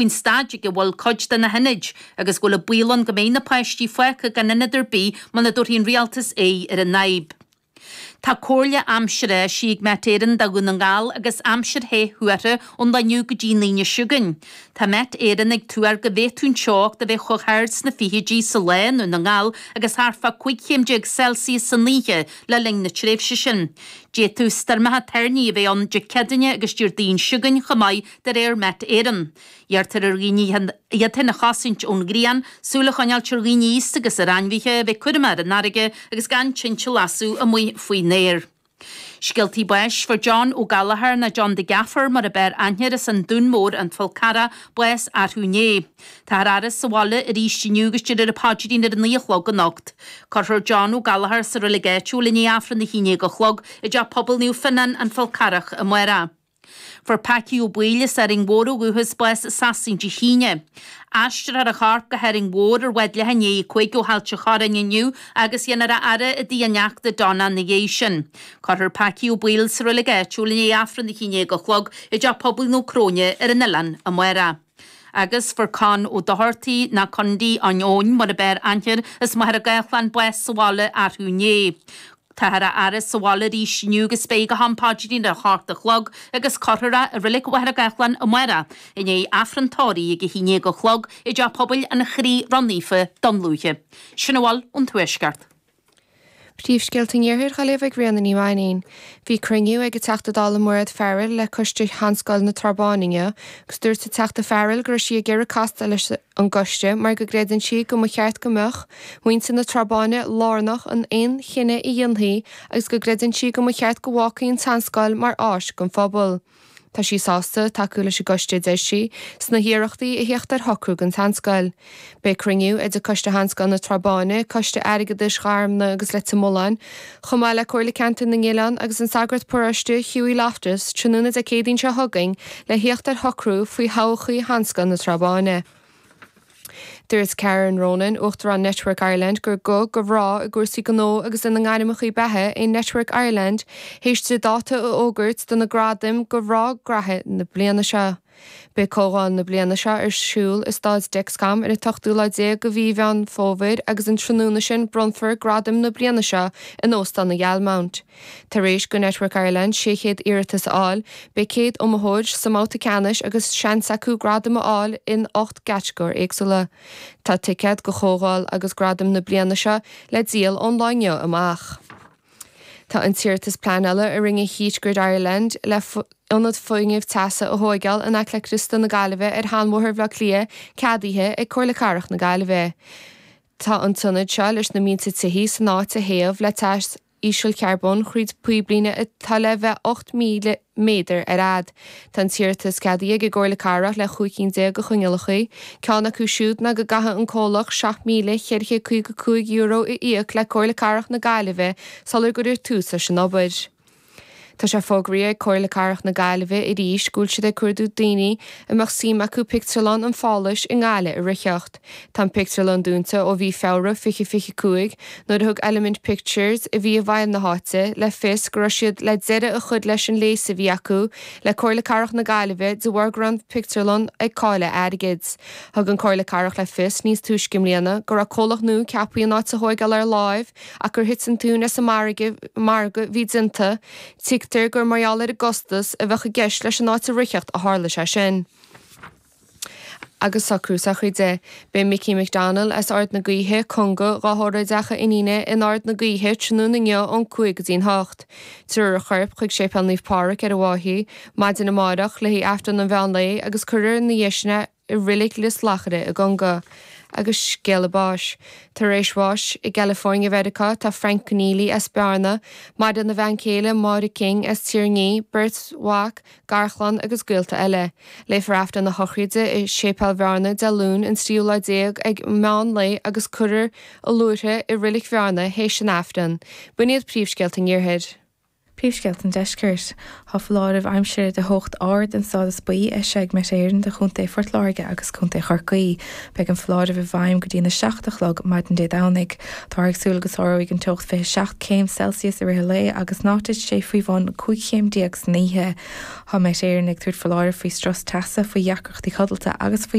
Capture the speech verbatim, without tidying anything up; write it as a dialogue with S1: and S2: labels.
S1: faoin staid ag a bhfuil cuid de na hionaid agus go bhfuil an baol ann go mbeidh na páistí fágtha gan ionad ar bith muna dtabharfaidh an rialtas aghaidh ar an fhadhb. Tá comhairle aimsire eisithe ag Met Éireann do Dhún na nGall agus aimsir the thuartha ón lá inniu go dtí an Aoine seo chugainn. Tá Met Éireann ag tuar go bhféadfadh an teocht a bheith chomh hard sna fichidí sa lá i nDún na nGall agus thart fá cúig chéim déag Celsius san oíche le linn na tréimhse sin. D'fhéadfadh stoirmeacha toirní a bheith ann Dé Céadaoine agus Déardaoin seo chugainn chomh maith de réir Met Éireann. Iarrtar ar dhaoine iad féin a chosaint ón ghrian, súil a choinneáilt ar dhaoine aosta agus ar ainmhithe, bheith cúramach ar an fharraige agus gan tinte a lasadh amuigh faoin aer. Scéaltaí báis fuair John Ó Gallchóir nó John the Gaffer mar ab fhearr aithne air as an Dún Mór an Fál Carrach bás arú inné. Táthar á fhaire sa bhaile arís inniu agus déarfar an paidrín ar a naoi a chlog anocht. Cuirfear John Ó Gallchóir sa reilig áitiúil i ndiaidh Aifreann a haon déag a chlog i dTeach Pobail Naomh Fionnán an Fál Carrach amárach. Fuair Packie Ó Baoill as Árainn Mhór ó dhúchas bás i Sasain Dé hAoine. Aistreofar a chorp go hÁrainn Mhór ar bhád leath i ndiaidh a cúig ó Ailt an Chorráin inniu agus dhéanfar a fhaire i dtigh a neachta Donna ina dhiaidh sin. Cuirfear Packie Ó Baoill sa reilig áitiúil i ndiaidh Aifreann a haon déag a chlog i dTeach Pobail Naomh Cróine ar an oileán amárach. Agus fuair Con Ó Dochartaigh nó Condy an Eoin mar ab fhearr aithne air as Machaire Gathlán bás sa bhaile arú inné. Táthar á fhaire sa bhaile arís inniu agus beidh go ham paidrín ar a hocht a chlog agus cuirfear é i Reilig Mhachaire Gathlán amárach i ndiaidh Aifreann tórraimh ag a haon déag a chlog i dTeach Pobail an Chroí Ró-Naofa Dún Lúiche. Sin a bhfuil ón Tuaisceart.
S2: Príomhscéalta an Iarthair á léamh ag Ríona Ní Mhainín. Bhí cruinniú ag an Teachta Dála Mairéad Farrell le coiste Sheanscoil na Trá Báine inniu, agus dúirt an Teachta Farrell go raibh sí ag iarraidh castáil leis an gcoiste mar go gcreideann sí go mba cheart go mbeadh muintir na Trá Báine lárnach in aon chinneadh a dhéanfaí agus go gcreideann sí go mba cheart go bhfágfaí an tseanscoil mar áis don phobal. Tá sí sásta tacú leis an gcoiste deir sí sna hiarrachtaí a theacht ar shocrú don tseanscoil. Beidh cruinniú idir Coiste Sheanscoil na Trá Báine, Coiste Airgeadais Gharmna agus Leitir Mealláin, chomh maith le Comhairle Ceantar na nOileán agus an sagart paróiste Hughie Loftus tráthnóna Dé Céadaoin seo chugainn le theacht ar shocrú faoi thodhchaí Sheanscoil na Trá Báine. Dúirt Karen Ronan, Uachtarán Network Ireland gur guth do mhná i gcúrsaí gnó agus ina ngairmeacha beatha é Network Ireland théis di dáta a fhógairt do na gradaim do mhná gnaithe na bliana seo. Beidh comhdháil na bliana seo ar siúl i Staid Dexcom ar an ochtú lá déag de mhí Mheán Fómhair agus an tráthnóna sin bronnfar gradaim na bliana seo in Óstán an Ghealmount. Tar éis do Network Ireland sé chéad iarratas a fháil, beidh céad iomaitheoir sa mbabhta ceannais agus seans acu gradam a fháil in ocht gcatagóir éagsúla. Tá ticéid do chomhdháil agus gradaim na bliana seo le díol ón lá inniu amach. Tá an t-iarratas pleanála a rinne Heat Grid Ireland le ionad fuinnimh teasa a thógáil in aice le Criostal na Gaillimhe ar Sheanbhóthar Bhaile Átha Cliath ceadaithe ag Comhairle Cathrach na Gaillimhe. Tá an t-ionad seo leis na mílte tithe san áit a théamh le teas ísealcharbóin tríd píblíne atá le bheith ocht míle méadar ar fhad. Tá an t-iarratas ceadaithe ag an gComhairle Cathrach le cúig cinn déag de choinníollacha, ceann acu siúd ná go gcaithfidh an comhlacht seacht míle ceithre chéad caoga cúig euro a íoc le Comhairle Cathrach na Gaillimhe sular gcuirfear tús leis an obair. Tá sé fógraithe ag Comhairle Cathrach na Gaillimhe arís go bhfuil siad ag cuardú daoine a mbeadh suim acu pictiúrlann an Pháláis i nGaillimh a ritheacht. Tá an pictiúrlann dúnta ó mhí Feabhra fiche fiche cúig nuair a thug Element Pictures a bhí i bhfeighil na háite le fios go raibh siad le deireadh a chur leis an léas a bhí acu le Comhairle Cathrach na Gaillimhe de bharr go raibh an pictiúrlann ag cailleadh airgid. Thug an Comhairle Cathrach le fios níos túisce i mbliana go raibh comhlacht nua ceaptha an áit a thógáil ar láimh ach gur thit an tóin as an margadh a bhí déanta. Tuigtear gur mar gheall ar an gcostas a bheadh i gceist leis an áit a ritheacht a tharla sé sin. Agus socrú sochraide. Beidh Mickey McDonald as Ard na Gaoithe, Conga, á thórramh i dteach a iníne in Ard na Gaoithe tráthnóna inniu ón cúig go dtí'n hocht. Tabharfar a chorp chuig Séipéal Naomh Pádraig ar an bhFáiche, maidin amárach le haghaidh Aifreann an mheán lae agus cuirfear ina dhiaidh sin é i reilig Lios Lachaire i gConga. Agus scéala báis. Tar éis bháis i gCalifornia Mheiriceá tá Frank Keneally as Bearna, maireann a bhean chéile Máire King as Tír an Fhia, beirt mhac, garchlann agus gaolta eile. Léifear Aifreann na sochraide i Séipéal Bhearna Dé Luain an tríú lá déag ag meán lae agus cuirfear a luaithre i reilig Bhearna théis an Aifreann. B'in iad príomhscéalta an Iarthair.
S3: Príomhscéalta an Deiscirt. Tá foláireamh aimsire de theocht ard den stádas buí eisithe ag Met Éireann do Chontae Phort Láirge agus Contae Chorcaí. Beidh an foláireamh i bhfeidhm go dtí na seacht a chlog maidin Dé Domhnaigh. Táthar ag súil go sáróidh an teocht fiche seacht céim Celsius i rith an lae agus ná titfidh sé faoi bhun cúig chéim déag san oíche. Tá Met Éireann ag tabhairt foláireamh faoi strus teasa, faoi dheacrachtaí codlata agus faoi